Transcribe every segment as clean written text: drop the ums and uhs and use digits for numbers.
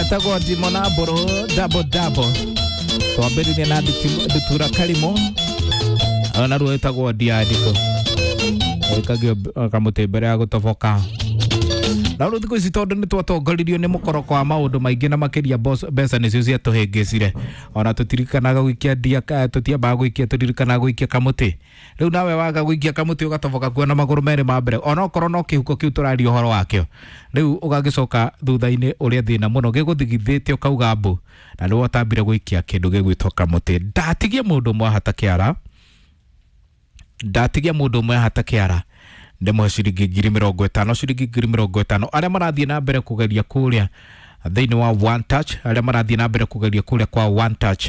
Etagwo Ndimo na Mbũrũ double double. Twambĩrĩria na Ndutura Karimũ, ona ruo ĩtagwo Ndiandĩko, ĩkagio kamũtĩ mbere ya gũtoboka. Na rĩu thikũ ici tondũ nĩ twatongoririo nĩ mũkoroko wa maũndũ maingĩ na makĩria mbeca nĩcio ciatũhĩngĩcire, ona tũtirikanaga gũikia ndia, tũtiambaga gũikia, tũririkanaga gũikia kamũtĩ. Rĩu nawe waga gũikia kamũtĩ ũgatoboka kuo na magũrũ merĩ ma mbere, onokorwo no kĩhuko kĩu tũraria ũhoro wakĩo. Rĩu ũgagĩcoka thutha-inĩ ũrĩa thĩna mũno gĩgũthigithĩte ũkauga mbu, na nĩwe ũtambire gũikia kĩndũ gĩgwĩtwo kamũtĩ. Ndatigia mũndũ ũmwe ahata kĩara, ndatigia mũndũ ũmwe ahata kĩara, ndĩmũhe ciringi 50,000, ciringi 50,000. Arĩa marathiĩ na mbere kũgeria kũrĩa thĩinĩ wa One Touch, arĩa marathiĩ na mbere kũgeria kũrĩa kwa One Touch,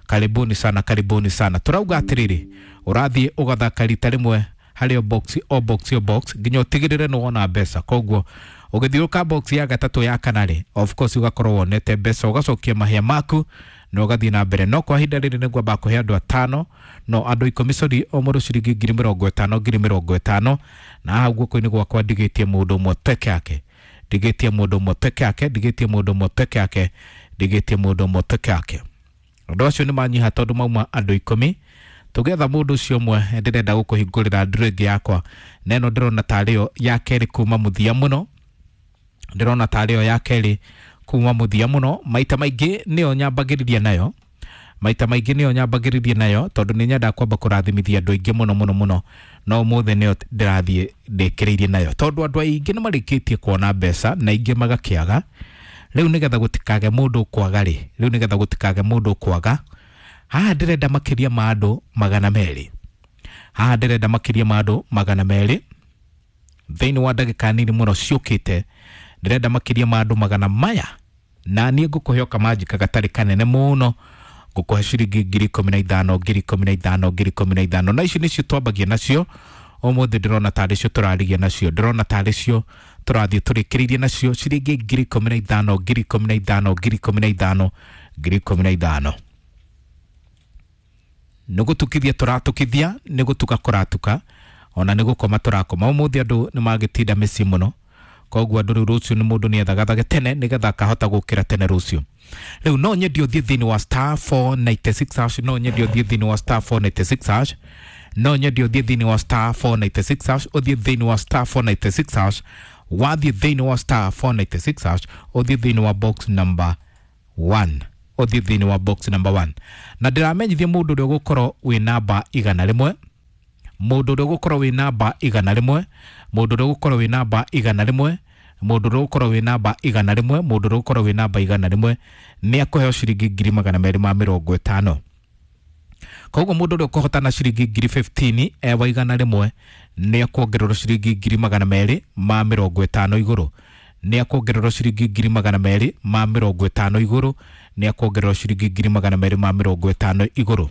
karibuni sana, karibuni sana. Tũrauga atĩrĩrĩ, ũrathiĩ ũgathaka rita rĩmwe harĩ o box, o box, o box, nginya ũtigĩrĩre nĩ wona mbeca. Koguo ũgĩthiũrũka box ya gatatũ, ya kana rĩ, of course ũgakorwo wonete mbeca, ũgacokia mahĩa maku na ũgathiĩ na mbere. No kwa ihinda rĩrĩ nĩngwamba kũhe andũ atano, no andũ 10, sorry, o mũndũ ciringi 50,000, 50,000. Na haha guoko-inĩ gwakwa ndigĩtie mũndũ ũmwe peke yake, ndigĩtie mũndũ ũmwe peke yake, ndigĩtie mũndũ ũmwe peke yake, ndigĩtie mũndũ ũmwe peke yake. Andũ acio nĩ manyiha tondũ mauma andũ 10. Tũgetha mũndũ ũcio ũmwe, ndĩrenda gũkũhingũrĩra ndũrũ ĩngĩ yakwa, na ĩno ndĩrona tarĩ yo ya kerĩ kuma mũthia mũno, ndĩrona tarĩ yo ya kerĩ kuma mũthia mũno. Maita maingĩ nĩyo nyambagĩrĩria nayo, maita maingĩ nĩyo nyambagĩrĩria nayo, tondũ nĩ nyendaga kwamba kũrathimithia andũ aingĩ mũno mũno mũno. No ũmũthĩ nĩyo ndĩrathiĩ ndĩkĩrĩirie nayo, tondũ andũ aingĩ nĩ marĩkĩtie kuona mbeca na aingĩ magakĩaga. Rĩu nĩgetha gũtikage mũndũ ũkwaga rĩ, rĩu nĩgetha gũtikage mũndũ ũkwaga, haha ndĩrenda makĩria ma andũ 200, haha ndĩrenda makĩria ma andũ 200 thĩinĩ wa ndagĩka nini mũno ciũkĩte. Ndĩrenda makĩria ma andũ magana maya, na niĩ ngũkũhe o kamanjika gatarĩ kanene mũno, ngũkũhe ciringi 15,000, 15,000, 15,000. Na ici nĩcio twambagia nacio ũmũthĩ, ndĩrona tarĩ cio tũrarigia nacio, ndĩrona tarĩ cio tũrathiĩ tũrĩkĩrĩirie nacio, ciringi 15,000, 15,000, 15,000, 15,000. Nĩ gũtukithia tũratukithia, nĩ gũtuka kũratuka, ona nĩ gũkoma tũrakoma. Ũmũthĩ andũ nĩ magĩtinda mĩciĩ mũno, koguo andũ rĩu rũciũ nĩ mũndũ nĩ ethagathage tene nĩgetha akahota gũkĩra tene rũciũ. Rĩu no nyende ũthiĩ thĩinĩ wa *496#, no nyende ũthiĩ thĩinĩ wa *496#, no nyende ũthiĩ thĩinĩ wa *496#, ũthiĩ thĩinĩ wa *496#. Wathiĩ thĩinĩ wa *496#, ũthiĩ thĩinĩ wa box number 1, ũthiĩ thĩinĩ wa box number 1. Na ndĩramenyithia mũndũ ũrĩa ũgũkorwo wĩ namba 100, mũndũ ũrĩa ũgũkorwo wĩ namba 100, mũndũ ũrĩa ũgũkorwo wĩ namba 100, mũndũ ũrĩa ũgũkorwo wĩ namba 100, mũndũ ũrĩa ũgũkorwo wĩ namba 100 nĩ akũheo ciringi 250,000. Koguo mũndũ ũrĩa ũkũhotana ciringi 15,000 ewa 100 nĩ akuongererwo ciringi 250,000 igũrũ, nĩ akuongererwo ciringi 250,000 igũrũ, nĩ akuongererwo ciringi 250,000 igũrũ.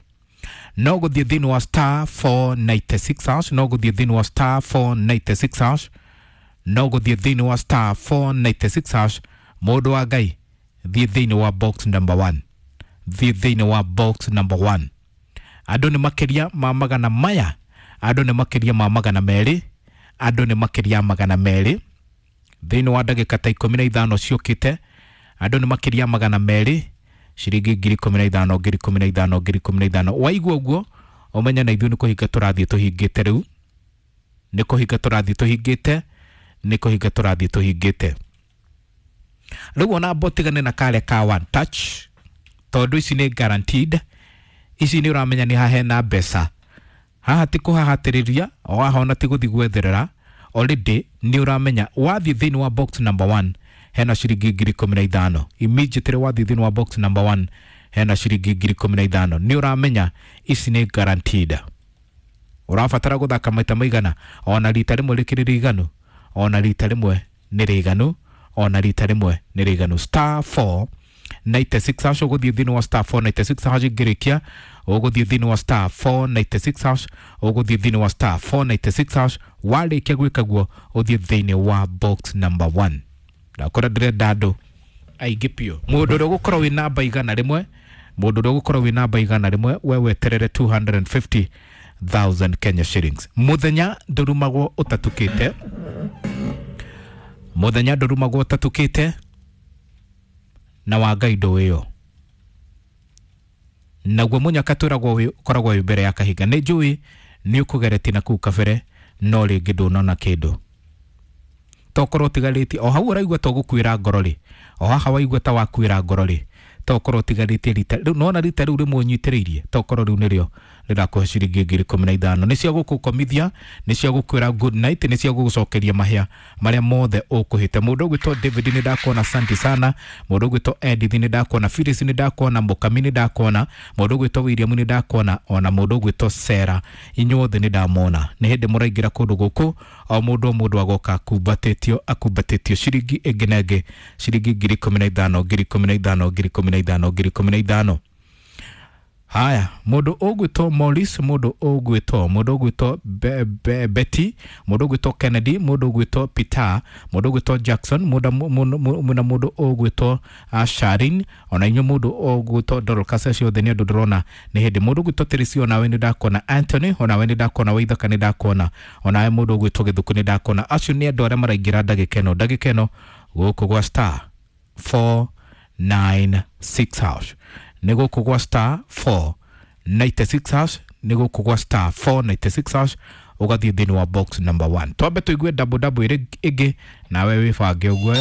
No gũthiĩ thĩinĩ wa *496#, no gũthiĩ thĩinĩ wa *496#, no gũthiĩ thĩinĩ wa *496#. Mũndũ wa Ngai, thiĩ thĩinĩ wa box number 1, thiĩ thĩinĩ wa box number 1. Andũ nĩ makĩria ma magana maya, andũ nĩ makĩria ma 200, andũ nĩ makĩria 200 thĩinĩ wa ndagĩka ta 15 ciũkĩte. Andũ nĩ makĩria 200, ciringi 15,000, 15,000, 15,000. Waigua ũguo ũmenye na ithuĩ nĩ kũhinga tũrathiĩ tũhingĩte. Rĩu nĩ kũhinga tũrathiĩ tũhingĩte, nĩ kũhinga tũrathiĩ tũhingĩte. Rĩu ona mbotigane na karĩa ka One Touch, tondũ ici nĩ guaranteed. Ici nĩ ũramenya nĩ haha hena mbeca, haha ti kũhahatĩrĩria, o haha ona ti gũthiĩ gwetherera. Already nĩ ũramenya wathiĩ thĩinĩ wa box number 1 hena ciringi 15,000. Immediately wathiĩ thĩinĩ wa box number 1 hena ciringi 15,000, nĩ ũramenya ici nĩ guaranteed. Ũrabatara gũthaka maita maigana? Ona rita rĩmwe rĩkĩrĩ rĩiganu, ona rita rĩmwe nĩ rĩiganu, ona rita rĩmwe nĩ rĩiganu. *496#, ũgũthiĩ thĩinĩ wa *496# ngĩrĩkia, ũgũthiĩ thĩinĩ wa *496#, ũgũthiĩ thĩinĩ wa *496#. Warĩkia gwĩka guo, ũthiĩ thĩinĩ wa box number 1. Ndakora ndĩrenda andũ aingĩ biũ. Mũndũ ũrĩa ũgũkorwo wĩ namba 100, mũndũ ũrĩa ũgũkorwo wĩ namba 100, we weterere 250,000 Kenya shillings. Mũthenya ndũrumagwo ũtatukĩte, mũthenya ndũrumagwo ũtatukĩte. Na wa Ngai ndũĩyo. Naguo mũnyaka twĩragwo ũkoragwo wĩ mbere ya kahinga. Nĩ njũĩ nĩ ũkũgeretie na kũu kabere, no rĩngĩ ndũnona kĩndũ. Tokorwo ũtigarĩtie o hau ũraigua ta ũgũkuĩra ngoro rĩ, o haha waigua ta wakuĩra ngoro rĩ, tokorwo ũtigarĩtie rita rĩu, nona rita rĩu rĩmwe ũnyitĩrĩirie, tokorwo rĩu nĩrĩo rĩrakũhe ciringi 15,000. Nĩ cia gũkũkomithia, nĩ cia gũkwĩra good night, nĩ cia gũgũcokeria mahĩa marĩa mothe ũkũhĩte. Mũndũ ũgwĩtwo David nĩ ndakuona, asante sana. Mũndũ ũgwĩtwo Edith nĩ ndakuona, Phyllis nĩ ndakuona, Mũkami nĩ ndakuona, mũndũ ũgwĩtwo William nĩ ndakuona, ona mũndũ ũgwĩtwo Sarah, inyuothe nĩ ndamona. Nĩ hĩndĩ mũraingĩra kũndũ gũkũ, o mũndũ o mũndũ agoka akumbatĩtio, akumbatĩtio ciringi ĩngĩ na ĩngĩ, ciringi 15,000, 15,000, 15,000, 15,000. Haya, mũndũ ũgwĩtwo Morris, mũndũ ũgwĩtwo, mũndũ ũgwĩtwo Betty, mũndũ ũgwĩtwo Kennedy, mũndũ ũgwĩtwo Peter, mũndũ ũgwĩtwo Jackson, mũndũ na mũndũ ũgwĩtwo Sharin, ona inyuĩ mũndũ ũgwĩtwo Dorcas, acio othe nĩ andũ ndĩrona nĩ hĩndĩ. Mũndũ ũgwĩtwo Teresi, onawe nĩ ndakuona. Anthony, onawe nĩ ndakuona. Waithaka nĩ ndakuona, onawe mũndũ ũgwĩtwo Gĩthuku nĩ ndakuona. Acio nĩ andũ arĩa maraingĩra ndagĩka ĩno, ndagĩka ĩno gũkũ gwa star 496 hash, nĩ gũkũ gwa star 496 hash, nĩ gũkũ gwa star 496 hash, ũgathiĩ thĩinĩ wa box number 1. Twambe tũigue double double ĩrĩ ĩngĩ, nawe wĩbange ũguo.